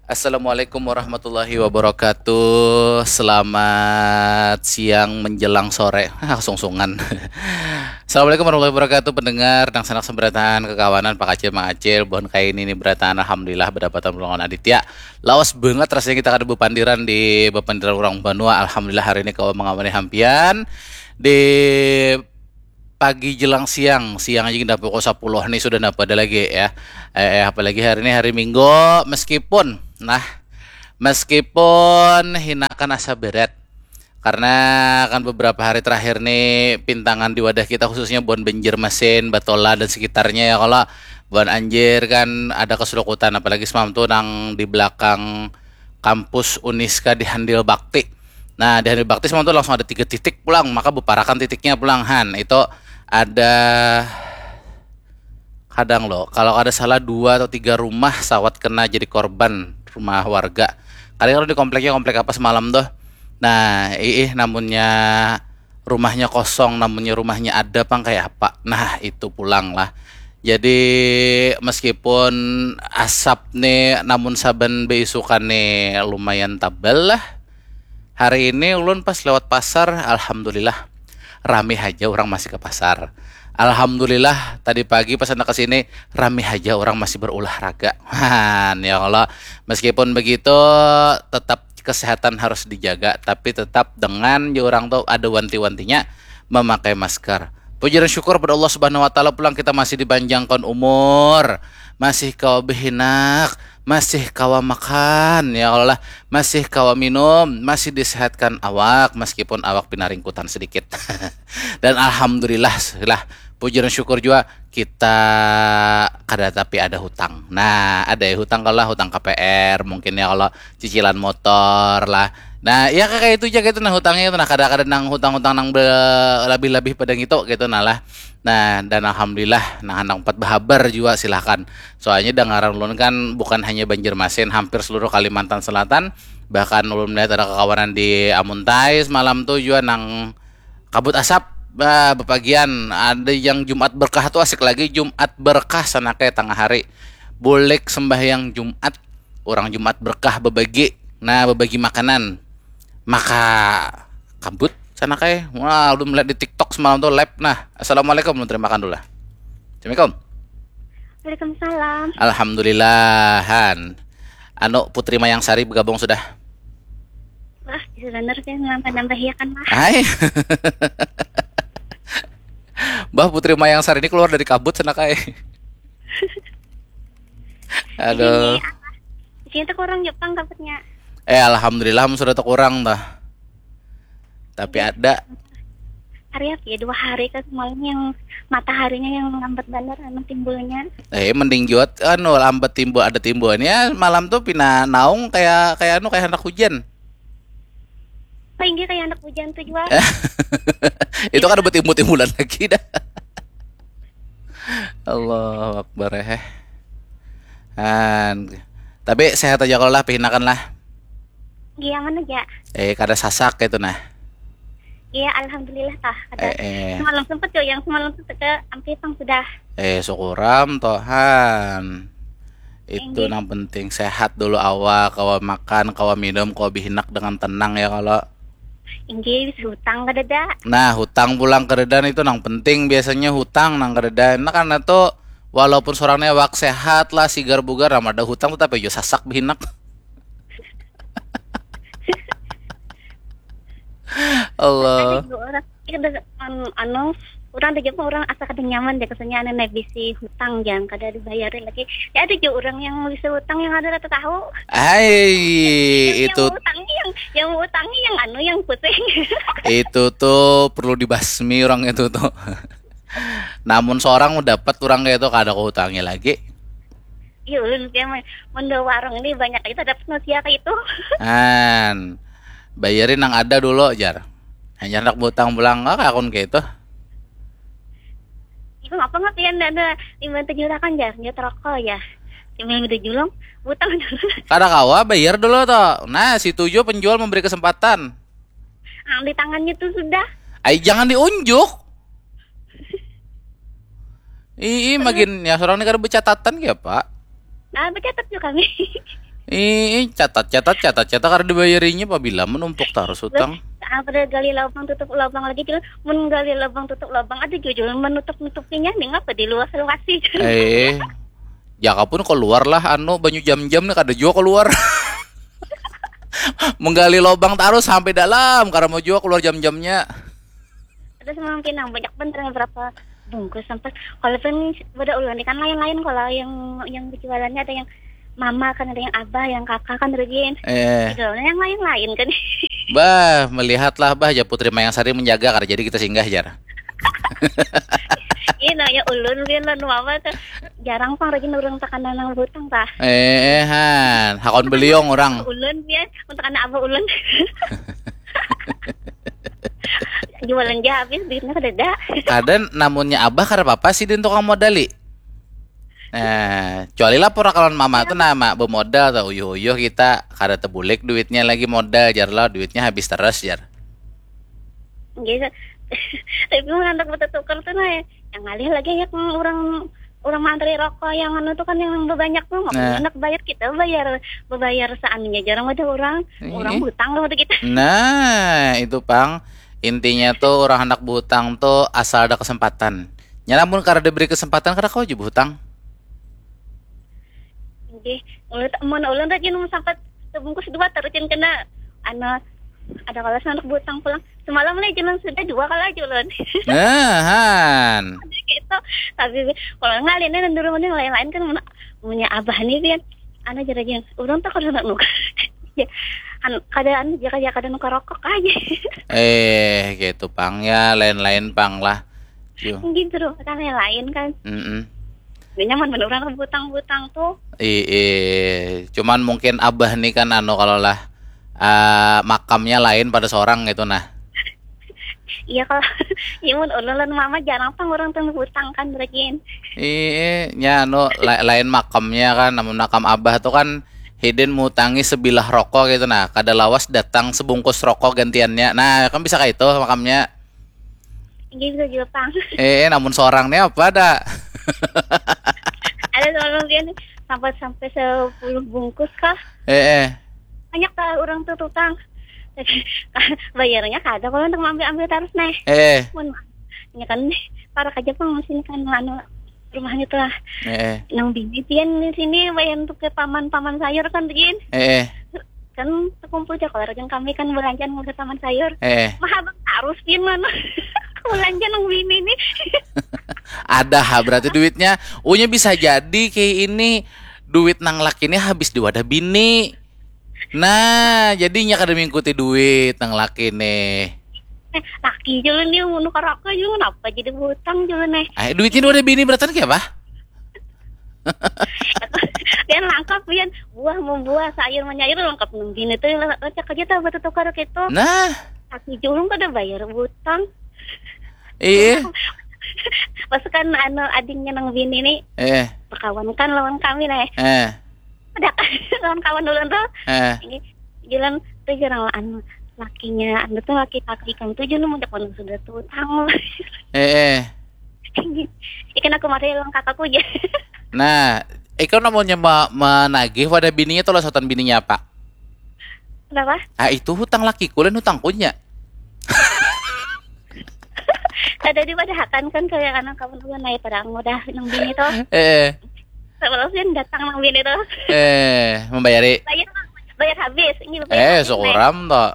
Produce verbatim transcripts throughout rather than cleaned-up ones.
Assalamualaikum warahmatullahi wabarakatuh. Selamat siang menjelang sore. Ah, sungsungan. Assalamualaikum warahmatullahi wabarakatuh. Pendengar, nang sanak seberataan, kekawanan, Pak Acil, Mang Acil, bon kaini ni berataan. Alhamdulillah, berdapatan lawan Aditya. Lawas banget rasanya kita kada bepandiran di bepandiran orang banua. Alhamdulillah, hari ini kawa mengawani hampian di pagi jelang siang, siang aja kita pukul sepuluh nih sudah napa ada lagi ya. Eh, eh, apalagi hari ini hari Minggu, meskipun nah, meskipun hinakan asa berat karena kan beberapa hari terakhir nih pintangan di wadah kita khususnya buan Banjarmasin, Batola dan sekitarnya ya kalau buan anjir kan ada keserukutan apalagi semalam tuh nang di belakang kampus Uniska di Handil Bakti. Nah, di Handil Bakti semalam tuh langsung ada tiga titik pulang, maka beparakan titiknya pulang han. Itu ada kadang loh, kalau ada salah dua atau tiga rumah sawat kena jadi korban rumah warga. Kali kalau di kompleknya komplek apa semalam tuh. Nah, iih namunnya rumahnya kosong, namunnya rumahnya ada pang kayak apa. Nah, itu pulang lah. Jadi meskipun asap nih namun saban beisukan nih lumayan tabal lah. Hari ini ulun pas lewat pasar, alhamdulillah rami haja orang masih ke pasar. Alhamdulillah tadi pagi pas anak kesini rami haja orang masih berolahraga. Han, ya Allah, meskipun begitu tetap kesehatan harus dijaga, tapi tetap dengan ya orang tuh ada wanti-wantinya memakai masker. Puji dan syukur pada Allah Subhanahu wa Ta'ala pulang kita masih dipanjangkan umur, masih kawa behinak, masih kawa makan ya Allah, masih kawa minum, masih disehatkan awak meskipun awak pinaringkutan sedikit. Dan alhamdulillah lah, puji dan syukur juga kita kada tapi ada hutang. Nah, ada ya hutang kalau hutang K P R mungkin ya kalau cicilan motor lah. Nah, ya kayak itu aja gitu nah hutangnya itu nah kada kada nang hutang-hutang nang lebih-lebih pada gitu gitu nah lah. Nah, dan alhamdulillah nah anak empat berhabar juga silahkan. Soalnya dengaran ulun kan bukan hanya Banjarmasin, hampir seluruh Kalimantan Selatan. Bahkan ulun melihat ada kekawanan di Amuntai semalam tuh juga nang kabut asap. Bah, bepagian ada yang Jumat berkah tuh asik lagi Jumat berkah sana kayak tengah hari. Bulik sembahyang Jumat, orang Jumat berkah bebagi. Nah, bebagi makanan. Maka kabut sana kayak. Wah, ulun melihat di TikTok semalam tuh live. Nah, assalamualaikum, ulun terima makan dulu lah. Assalamualaikum. Waalaikumsalam. Alhamdulillahan. Anu Putri Mayang Sari bergabung sudah. Wah, bisa bener sih nambah-nambah ya kan mah. Hai. Bah Putri Mayang Sari ini keluar dari kabut sana kayak. Aduh. Di sini tuh kurang Jepang kabutnya. Eh alhamdulillah sudah tuh kurang dah. Tapi ada. Hari apa ya dua hari kan semalam yang mataharinya yang lambat banget anu timbulnya. Eh mending juat anu lambat timbul ada timbulnya malam tuh pina naung kayak kayak anu kayak anak hujan. Paling kayak anak hujan tuh juga. Itu kan ada timbul-timbulan lagi dah. Allahu Akbar eh. Han. Tapi sehat aja kalau lah pihinakan lah. Iya mana aja. Eh kada sasak itu nah. Iya alhamdulillah tah. Ada Eh, eh. Semalam sempet tuh yang semalam sempet ke Ampitang sudah. Eh syukuram tohan. Itu Inggih. Nang penting sehat dulu awak, kawa makan, kawa minum, kawa bihinak dengan tenang ya kalau. Inggih bisa hutang kada ada. Nah, hutang pulang keredan itu nang penting biasanya hutang nang keredan. Nah, karena tuh walaupun seorangnya awak sehat lah, sigar bugar, nama ada hutang tetap aja sasak bihinak. Allah. Ada juga orang kita an- anu orang ada juga orang asa kada nyaman deh kesannya anu naik bisi hutang yang kada dibayarin lagi. Ya ada juga orang yang bisa hutang yang ada rata tahu. Hai, Yang itu utangnya yang yang utangnya yang anu yang pusing. itu tuh perlu dibasmi orang itu tuh. Namun seorang dapat orang kayak itu kada kau hutangi lagi. Iya ulun kayak men- mun di warung ini banyak aja dapat manusia kayak itu. Han, bayarin nang ada dulu jar. Hanya hendak butang pulang ah akun kayak itu. Ibu ngapa nggak pian ada timbang tujuh rakan jar, dia terokol ya. Timbang udah julung, butang dulu. Kada kawa bayar dulu toh. Nah, si tujuh penjual memberi kesempatan. Ang di tangannya tuh sudah. Ai jangan diunjuk. Ii, makin ya seorang ini kada bercatatan ya pak. Nah, bercatat juga kami. Ih, catat, catat, catat, catat, kada dibayarinya, pabila menumpuk tarus utang. Apa dah, gali lubang tutup lubang lagi, Jul. Mun gali lubang tutup lubang, ada jua, Jul, menutup nutupinya nih, ngapa diluas luasi? Eh, jaka pun keluar lah, anu, banyu jam-jam nih, kada jua keluar. Menggali lubang tarus sampai dalam, kada mau jua keluar jam-jamnya. Ada semalam pinang banyak bener, berapa bungkus sampai, kalau pun pada ulun ini kan lain-lain, kalau yang yang berjualannya ada yang mama kan, ada yang abah, yang kakak kan, Rujin. Eh, Jualnya yang lain-lain kan. Bah, melihatlah, Bah, ya, Putri Mayang Sari menjaga, kada jadi kita singgah, jar. Ini namanya ulun, biar lawan mama tuh jarang pang, Rujin, urang takana nang hutang tah. Eh, han, hakon beliong orang. Ulun, biar untuk anak abah ulun. Jualan ja habis, duitnya kada ada. Kada, namunnya abah kada apa-apa sih, din tukang modali. Nah, kecuali lapor kawan mama tuh, nama bemodal tuh, uyuh-uyuh kita kada tebulik duitnya lagi, modal, jar lah, duitnya habis terus, jar. Gitu. Tapi mun handak bertukar tuh, nah, yang ngalih lagi ya, orang orang mantri rokok yang anu tuh kan, yang banyak tuh, nggak Nah. Enak bayar, kita bayar, bayar seanunya, jarang ada orang Ih. Orang hutang loh kita. Nah, itu pang, intinya tuh orang handak berhutang tuh asal ada kesempatan. Nya, namun kada diberi kesempatan, kada kawa jua berhutang. Jadi, ulun, mun ulun tadi nung sampai sebungkus dua, tarusin kena, anu, ada kala handak berhutang pulang. Semalam lagi jalan sudah dua kali aja ulun. Nah, han. Gitu. Tapi kalau ngalihnya dan dulu mending lain-lain kan, mun, punya abah nih, pian. Anu, jerajan. Urang tuh kada nak nukar. Ya, kan kada, anu, jaka jaka kada nukar rokok aja. Eh, gitu pang ya, lain-lain pang lah. Yo. Mungkin suruh kan yang lain kan. Mm-mm. Gak nyaman bener orang butang-butang tuh. Ih, cuman mungkin abah nih kan, anu, kalau lah, ah, makamnya lain pada seorang gitu, nah. Iya, kalau iya, mun ulun lawan mama jarang pang orang tuh hutang kan, Rajin. Ih, nya, anu, la- lain makamnya kan, namun makam abah tuh kan hidin mutangi sebilah rokok gitu, nah, kada lawas datang sebungkus rokok gantiannya, nah, kan bisa kayak itu makamnya. Iya, bisa juga pang. Eh, namun seorang nih apa ada? Ada semalam dia nih, sampai sampai sepuluh bungkus kah? Eh, eh, Banyak kah orang tuh tukang? Bayarnya kada, kalau untuk ambil ambil terus nih. Eh, Mun, ya kan, parak aja pang, masih kan, anu, rumahnya tuh lah. Eh, eh. Nang bini pian di sini, bayar untuk ke paman-paman sayur kan, Jin. Eh, eh. Kan terkumpul aja kalau rajin kami kan belanjaan ke paman sayur. Eh, eh. Mahabang harus pian mana? Belanja nang bini nih. Ada ha berarti duitnya. Unya bisa jadi kayak ini, duit nang laki ini habis di wadah bini. Nah, jadinya kada mengikuti duit nang laki nih. Eh, laki jalan dia mau nukar rokok juga, kenapa jadi hutang juga nih? Eh, duitnya di wadah bini berarti kayak apa? Pian lengkap, pian buah membuah, sayur menyair lengkap nang bini tuh, lecak aja tuh buat tukar gitu. Nah, Laki julung kada bayar hutang. Iya. Pas kan anu adingnya nang bini nih Eh, berkawan kan lawan kami nih. Eh. Ada lawan kawan dulu tuh. Eh. Ini jalan tuh jarang lah anu lakinya anu tuh laki kakak ikam tuh jalan mau jalan sudah tuh tang. Eh, eh. Ikan aku mari lawan kakakku aja. Nah, ikam namanya ma- menagih wadah bininya atau losotan bininya apa? Kenapa? Ah, itu hutang lakiku dan hutangkunya. Ada di pada hakan kan kayak anak kawan gue naik pada udah nang bini tuh. Eh, Sebelum datang nang bini tuh. Eh, membayari. Bayar bayar habis. Ini bayar Eh, habis, syukuram toh.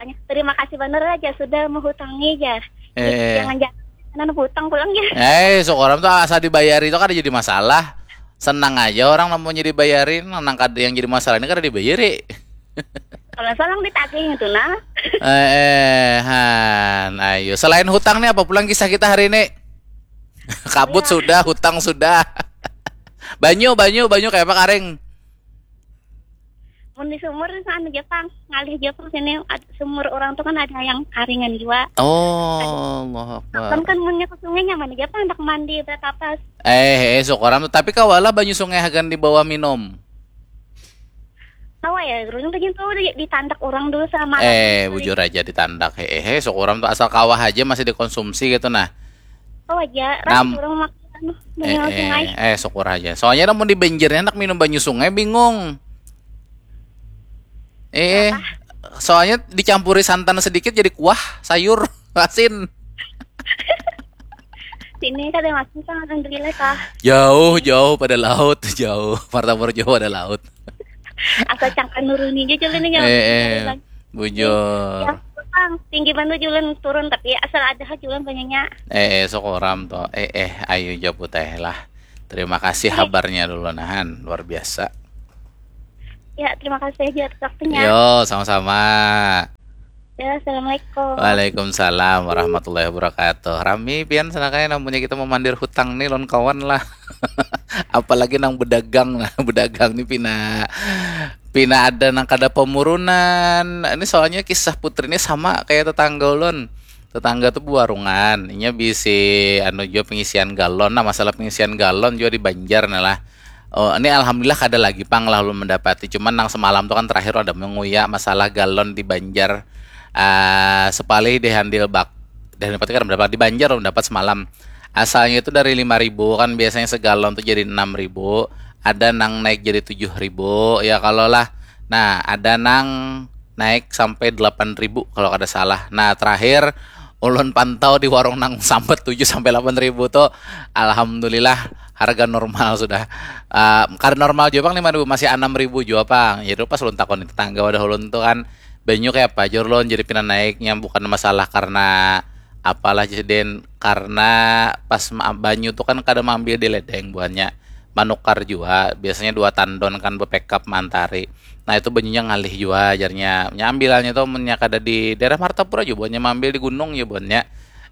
Nek. Terima kasih bener aja sudah menghutangi aja. Eh. Jangan jangan hutang pulang ya. Eh, syukuram tuh asal dibayari itu kada jadi masalah. Senang aja orang namanya dibayarin, nang kada yang jadi masalah ini kada dibayari. Kalau salah ditagih itu nah. Eh, eh, han, ayo. Selain hutang nih apa pulang kisah kita hari ini? Kabut Iya. Sudah, hutang sudah. Banyu, banyu, banyu kayak apa, karing? Mun di sumur itu anu Jepang, ngalih Jepang sini ad- sumur orang tuh kan ada yang karingan juga. Oh, Allahu Kan Akbar. kan munnya ke sungai nyaman aja pang, hendak mandi bertapas. Eh, eh, syukuram tuh. Tapi kawalah banyu sungai hagan di bawah minum. Tahu ya, gerunung tuh tuh di- ditandak orang dulu sama Eh, bujur aja ditandak. Eh, eh, syukuram tuh asal kawah aja masih dikonsumsi gitu nah. Tahu aja, Nam- ras orang makan anu Eh, banyu sungai. eh, eh, syukur aja. Soalnya namun di banjirnya anak minum banyu sungai bingung. Eh, soalnya dicampuri santan sedikit jadi kuah, sayur, asin. Sini kada masih kan, alhamdulillah kah. Jauh, jauh pada laut, jauh. Martapura jauh pada laut. Asal cangkang nuruni aja jalan ini. Eh, eh, bujur. Ya, Bang, tinggi banget jalan turun, tapi asal ada ha jalan banyaknya. Eh, eh, sokoram to. Eh, eh, ayu japu teh lah. Terima kasih habarnya dulu nahan, luar biasa. Ya, terima kasih aja atas waktunya. Yo, sama-sama. Ya, assalamualaikum. Waalaikumsalam warahmatullahi wabarakatuh. Rami pian sana kaya namanya kita memandir hutang nih lawan kawan lah. Apalagi nang bedagang nah, bedagang nih pina pina ada nang kada pemurunan. Ini soalnya kisah putri ini sama kayak tetangga ulun. Tetangga tuh buarungan, inya bisi anu jua pengisian galon. Nah, masalah pengisian galon jua di Banjar nah lah. Oh, ini alhamdulillah kada lagi pang lah ulun mendapati. Cuman nang semalam tuh kan terakhir ada menguya masalah galon di Banjar. Ah, sepalih di handil bak di handil bak kada mendapat di Banjar ulun dapat semalam. Asalnya itu dari lima ribu kan biasanya segalon tuh jadi enam ribu, ada nang naik jadi tujuh ribu ya kalau lah. Nah, ada nang naik sampai delapan ribu kalau kada salah. Nah, terakhir ulun pantau di warung nang sambat tujuh sampai delapan ribu tuh, alhamdulillah harga normal sudah. Uh, kada normal juga pang lima ribu, masih enam ribu juga pang. Jadi pas ulun takoni tetangga wadah ulun tuh kan, banyu kayak apa jor ulun jadi pina naiknya, bukan masalah karena apalah jadi karena pas banyu tuh kan kada maambil di ledeng buhannya, manukar jua biasanya dua tandon kan bepekap mantari. Nah, itu banyunya ngalih jua jarnya. Nya ambilannya tuh munnya kada di daerah Martapura jua buhannya, maambil di gunung jua buhannya.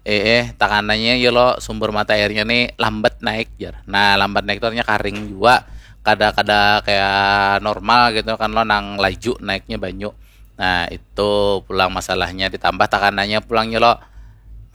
Eh, eh, takananya ya lo sumber mata airnya nih lambat naik jar. Nah, lambat naik tuh artinya karing jua. Kada kada kayak normal gitu kan lo nang laju naiknya banyu. Nah, itu pulang masalahnya ditambah takananya pulangnya lo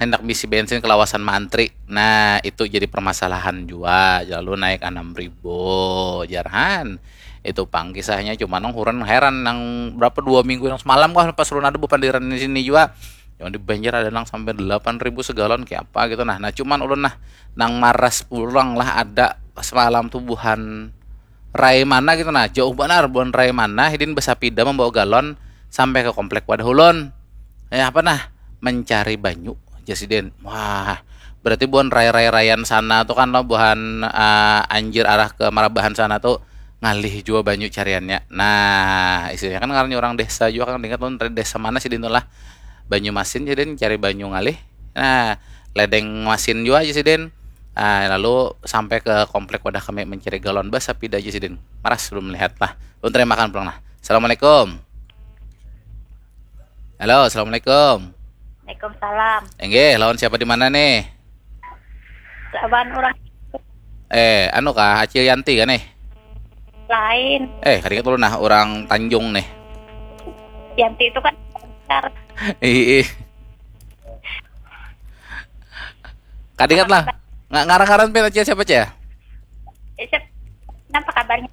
hendak bisi bensin kelawasan maantri. Nah, itu jadi permasalahan jua. Lalu naik enam ribu jarhan. Itu pang kisahnya, cuma nang huran heran nang berapa dua minggu yang semalam kah pas ulun ada bepandiran di sini juga. Yang di Banjar ada nang sampai delapan ribu segalon kayak apa gitu nah. Nah, cuman ulun nah nang maras pulang lah ada semalam tuh buhan rai mana gitu nah. Jauh banar buhan rai mana hidin bersapida membawa galon sampai ke komplek wadah ulun. Ya apa nah mencari banyu. Jasidin. Wah, berarti buhan rai-rai-raian sana tuh kan lo buhan uh, anjir arah ke Marabahan sana tuh ngalih jua banyu cariannya. Nah, istilahnya kan ngarannya orang desa juga kan ingat lo dari desa mana sih dintulah. Banyu masin jadi cari banyu ngalih. Nah, ledeng masin juga aja sih din. Nah, lalu sampai ke komplek wadah kami mencari galon bas sapida aja sih din. Maras belum melihat lah. Lu terima makan pulang nah. Assalamualaikum. Halo, assalamualaikum. Waalaikumsalam. Enggih, lawan siapa di mana nih? Lawan orang. Eh, anu kah, Acil Yanti kah nih? Lain. Eh, kadingat dulu nah, orang Tanjung nih. Yanti itu kan besar. Ih, ih. Kadingat lah. Nggak ngarang-ngarang pin aja siapa aja? Eh, siap. Kenapa kabarnya?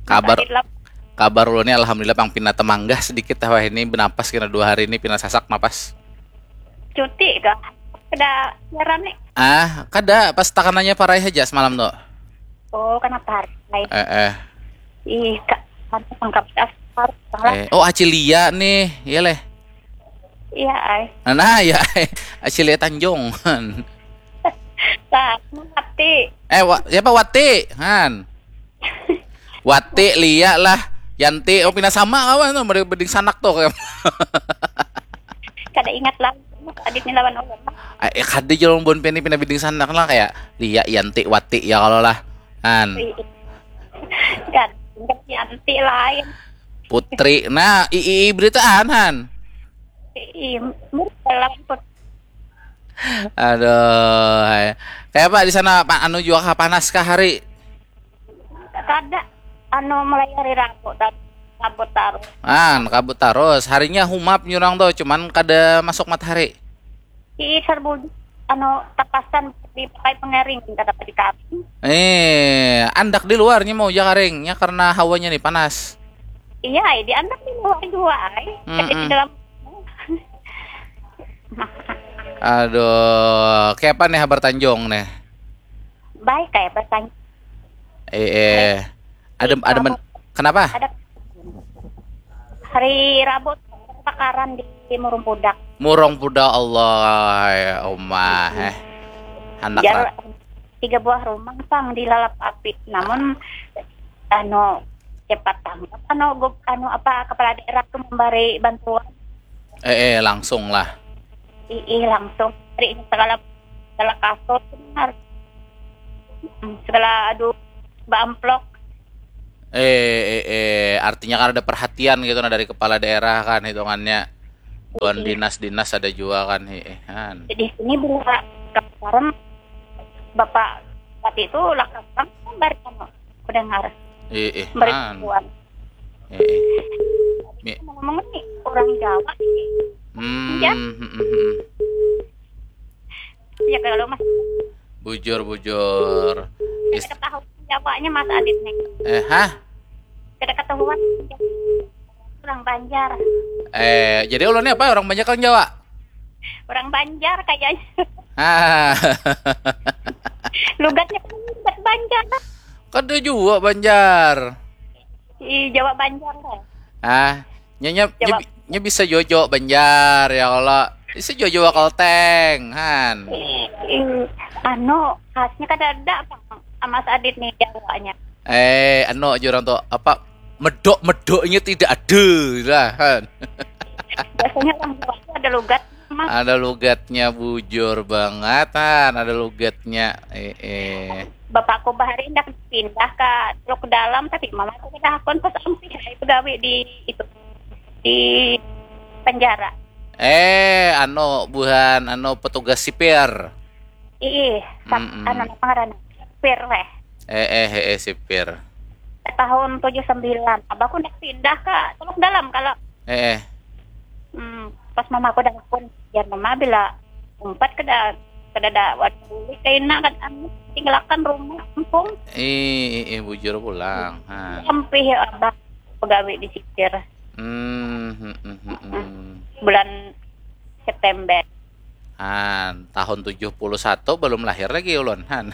Kabar Tadi telah kabar ulun ni alhamdulillah pang pina temanggah sedikit wah ini benapas kena dua hari ini pina sasak napas. Cuti kah? Kada siaran nih. Ah, kada pas takananya parai aja semalam tu. Oh, kenapa hari? Eh eh. Ih, kak, harus tangkap harus salah. Eh, oh Acilia nih, iya leh. Iya, ay. Nah, nah ya, Acilia Tanjung. Nah, mati. Eh, wa, siapa Wati? Han. Wati, Lia lah. Yanti, oh pina sama kawan tu, mending sanak tu kayak. Kada ingat lah. Adit ni lawan orang. Eh, kada jalan bon pini pina biding sanak lah kayak Lia, Yanti, Wati ya kalau lah. Han. Kan, ingat Yanti lain. Putri. Nah, i, i, i beritaan Han. Ih, mirip dalam put. Aduh, hai. Kayak apa di sana Pak anu juga kah panas kah hari? Kada, anu mulai hari Rabu dan kabut taruh. Ah, kabut terus. Harinya humap nyurang tuh, cuman kada masuk matahari. Ih, serbu anu tapasan dipakai pengering kada di kami. Eh, andak di luarnya mau ja karingnya karena hawanya nih panas. Iya, ay, di anak di luar juga, ay. Tapi Mm-mm. Di dalam Aduh, kayak apa nih habar Tanjung nih? Baik kayak bertanya. Eh, eh. Ada ada men- kenapa? Ada Hari Rabu takaran di Murung Pudak. Murung Pudak, Allah, ya, Umah, eh. Handak Jar rat. Tiga buah rumah pang dilalap api. Namun anu cepat tanggap anu gub anu apa kepala daerah tu memberi bantuan. Eh, eh, langsung lah. Ii langsung beri segala segala kasur benar. Hmm, segala aduh baamplok. Eh, eh, eh, artinya kan ada perhatian gitu nah dari kepala daerah kan hitungannya. Buan Iya. Dinas-dinas ada juga kan, eh, eh, han. Di sini bila sekarang bapak bupati itu lakas pang memberi anu mendengar Eh, eh, memberi han. Bantuan. Eh, eh. Mi- Ngomong ni orang Jawa ini. Hmm, Ya. hmm, hmm, hmm. Ya kalau mas Bujur, bujur. Is- Kada ketahuan Jawanya Mas Adit nih. Eh, hah? Kada ketahuan orang Banjar. Eh, jadi ulun ni apa, orang Banjar kah Jawa? Orang Banjar kayaknya. Ah, Lugatnya kan lugat Banjar. Kada jua Banjar. Di Jawa Banjar lah. Ah, nya, nya, nya, Jawa. Bi- nya bisa jua Jawa Banjar, ya Allah. Bisa jua Jawa Kalteng, han. Ih, anu khasnya kada ada apa Mas Adit nih Jawanya. Eh, anu aja orang tu apa, medok-medoknya tidak ada lah, han. Biasanya orang Jawa itu ada lugat Mas. Ada lugatnya, bujur banget, han. Ada lugatnya. Eh, eh. Bapakku bahari hendak pindah ke Teluk Dalam tapi mamaku kada hakun pas ampih ai begawi di itu di penjara. Eh, anu, buhan, anu, petugas sipir. Ih, sak Mm-mm. Anu apa ngarannya? Sipir weh. Eh, eh, eh, eh, sipir. Tahun tujuh sembilan abahku hendak pindah ke Teluk Dalam kalau Eh, eh. hmm, pas mamaku dah hakun ya mama bila umpat kada kada ada wadah buli kaina kan anu tinggalkan rumah kampung Ih, ih, ih, bujur pulang, han. Ampih ya abah begawi di sipir Hmm, hmm, hmm, hmm, hmm. Bulan September. Han, tahun tujuh puluh satu belum lahir lagi ulun, han.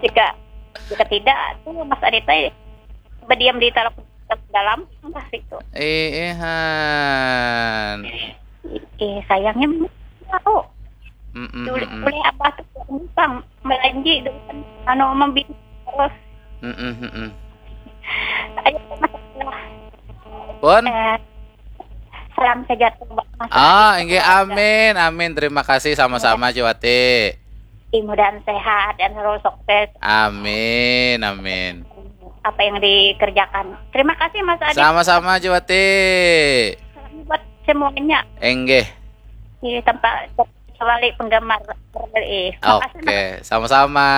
Jika jika tidak tuh Mas Adit teh berdiam di Teluk Dalam entah itu. Eh, eh, han. Eh sayangnya tahu. Mm, mm, Boleh, mm, mm. Boleh abah tuh numpang melanji dulu kan anu membina terus. Mm, mm, mm, mm. Ayo Mas Adit lah. Pun? Eh, salam sejahtera buat Mas Ah, Adit. inggih, amin, amin. Terima kasih sama-sama, Ciwati. Mudah-mudahan sehat dan selalu sukses Amin, amin. apa yang dikerjakan. Terima kasih Mas Adit. Sama-sama, Ciwati. Salam buat semuanya Inggih. Di tempat kembali penggemar R R I. Makasih Mas. Oke, sama-sama.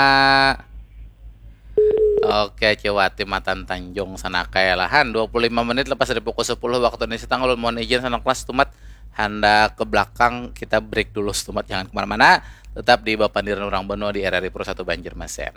Oke, Ciwati matan Tanjung Sanakai lah, han. Dua puluh lima menit lepas dari pukul sepuluh waktu Indonesia Tengah, ulun mohon izin sanak kelas tumat handak ke belakang, kita break dulu setumat, jangan kemana-mana. Tetap di Bapandiran Urang Banua di R R I Pro satu Banjarmasin.